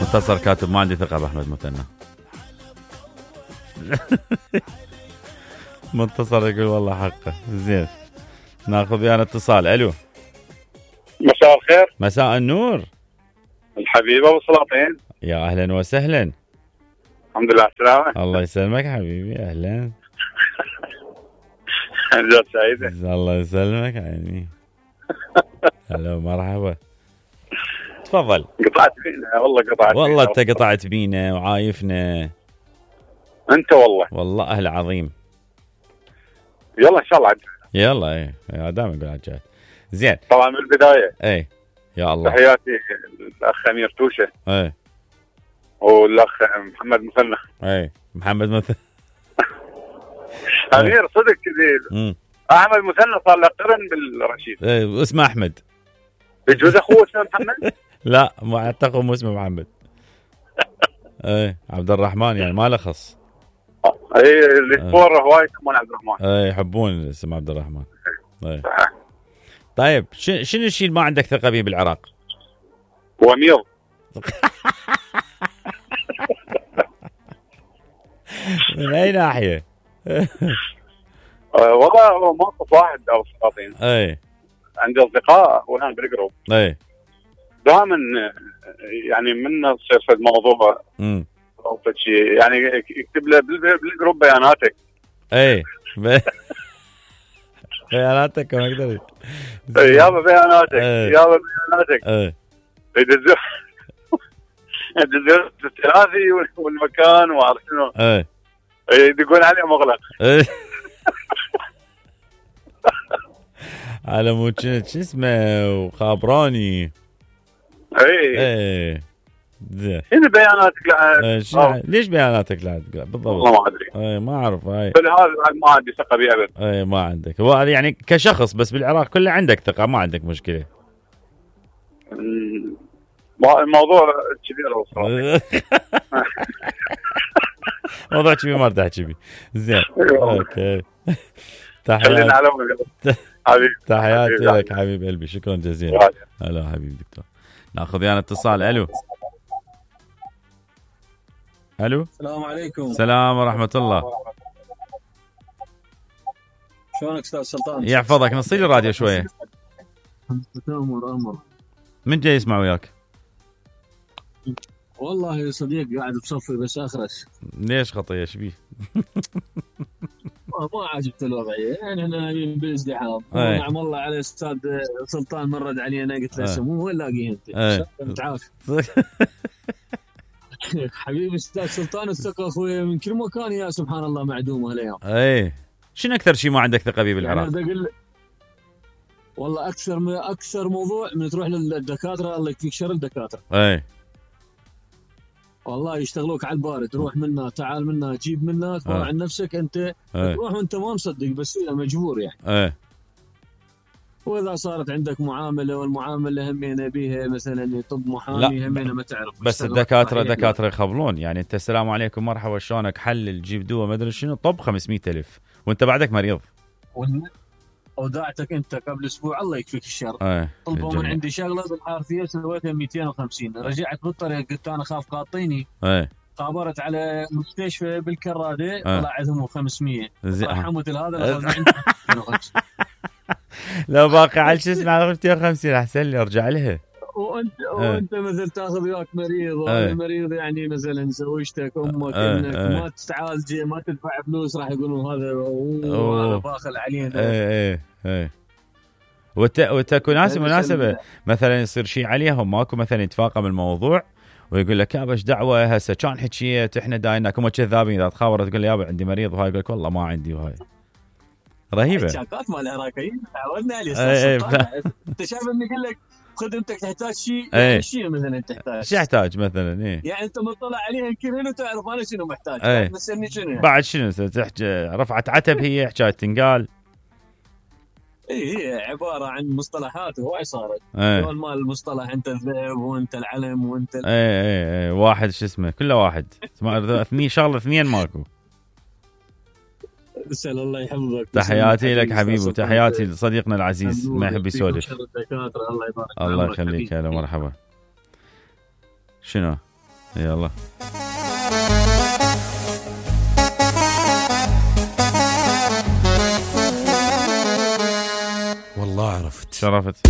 منتصر كاتب ما عندي ثقة بأحمد مثنى. منتصر يقول والله حقه. زين ناخذ ويانا اتصال. الو مساء الخير. مساء النور. الحبيب ابو سلاطين. يا اهلا وسهلا. الحمد لله السلامة. الله يسلمك حبيبي. اهلا. جات سعيدة. الله يسلمك عيني. هلا مرحبا. تفضل. قطعت فينا والله انت قطعت بينا وعايفنا انت والله اهل عظيم. يلا ان شاء الله عجل. يلا ايه دائما نقول عجل. زين طبعا من البدايه ايه يا الله تحياتي الاخ امير توشه ايه والاخ محمد مثنى. ايه محمد مثنى. امير صدق كذي. احمد مثنى صار له قرن بالرشيد. ايه اسمه احمد. يجوز اخوه اسمه محمد؟ لا ما اعتقد مو اسمه محمد. ايه عبد الرحمن يعني ما له خص. اي الاسبور هواي يسمون عبد الرحمن. ايه يحبون اسم عبد الرحمن. ايه طيب شنو الشيء اللي ما عندك ثقة به بالعراق؟ وميض. من اي ناحية؟ والله موقف واحد او سلاطين. ايه عندي اصدقاء والان بالجروب. ايه دائما يعني من تصير في الموضوع او شيء يعني يكتب له بالجروب بياناتك. ايه بياناتك ما اقدر. يابا بياناتك يابا بياناتك. ايه يدزون الثلاثي والمكان وعارف شنو. ايه يدقون عليه مغلق. ايه على مو شو اسمه وخابراني. ايه شنو بياناتك ليش بياناتك لا بالضبط؟ والله ما ادري. ايه ما اعرف. هاي فلهذا ما عندي ثقه به ابد. ايه ما عندك. هو يعني كشخص بس بالعراق كله عندك ثقه ما عندك مشكله. الموضوع كبير والله. موضوع كبير ما ارتاح كبير. زين اوكي. خلينا على حبيبي. تحياتي لك حبيب قلبي. شكرا جزيلا. هلا حبيبي دكتور. ناخذ ويانا اتصال. الو السلام عليكم. السلام ورحمه الله. شلونك استاذ سلطان؟ يحفظك. نصي لي الراديو شويه. امر من جاي يسمع وياك؟ والله يا صديق قاعد بصفي بس اخرس. ليش خطيه ايش بيه؟ ما عجبت الوضعيه يعني احنا نايمين بالازدحام. نعم والله على استاذ سلطان مرد علينا قلت له سمو وين لاقيه انت عارف. حبيبي استاذ سلطان الثقه اخوي من كل مكان يا سبحان الله معدومه هالايام. ايه شنو اكثر شيء ما عندك ثقه به بالعراق؟ يعني والله اكثر موضوع من تروح للدكاتره الله يكفيك شر الدكاتره. ايه والله يشتغلوك على البارد. تروح منا تعال منا جيب منا تروح عن نفسك انت. تروح وانت ما مصدق بس مجبور يعني. واذا صارت عندك معامله والمعامله همينه بيها مثلا طب محامي همينه ما تعرف. بس الدكاتره يخبلون يعني انت السلام عليكم مرحبا شلونك حلل جيب دواء ما ادري شنو طب 500,000 وانت بعدك مريض. وداعتك انت قبل اسبوع الله يكفيك الشر. طلبوا من عندي شغله بالحرفيه سويتها 250. رجعت بالطريق قلت انا خاف قاطيني. خابرت على مستشفى بالكراده طلع عندهم 500. رحمت هذا لو باقي على شو اسمه 250 احسن لي ارجع لها. وانت مثل تاخذ وياك مريض المريض يعني مثلا زوجتك امك انك ما تعالج ما تدفع فلوس راح يقولون هذا هذا باخل علينا. وتكون مناسبه مثلا يصير شيء عليهم ماكو مثلا يتفاقم الموضوع ويقول لك يابا ايش دعوه هسه كان حكيت احنا دايناك هم كذابين. اذا تخابر تقول له يابا عندي مريض وهاي يقول لك والله ما عندي وهاي رهيبه. الشاكات مال العراقيين تعودنا عليه. انت شايف اني اقول لك خدمتك تحتاج شيء يعني شيء مثلا تحتاج شو يحتاج مثلا يعني انت مطلع عليها يمكن هنا تعرف انا شنو محتاج. تسالني شنو يعني. بعد شنو تحكي رفعت عتب هي حكايه تنقال. هي عباره عن مصطلحات هواي صارت. دول مال المصطلح انت الذئب وانت العلم وانت واحد شو اسمه كله واحد اثنين شغله اثنين ماكو. اسال الله يحفظك. تحياتي لك حبيبي وتحياتي لصديقنا العزيز ما يحب يسولف. الله يبارك. الله يخليك. هلا مرحبا. شنو يلا والله عرفت شرفت.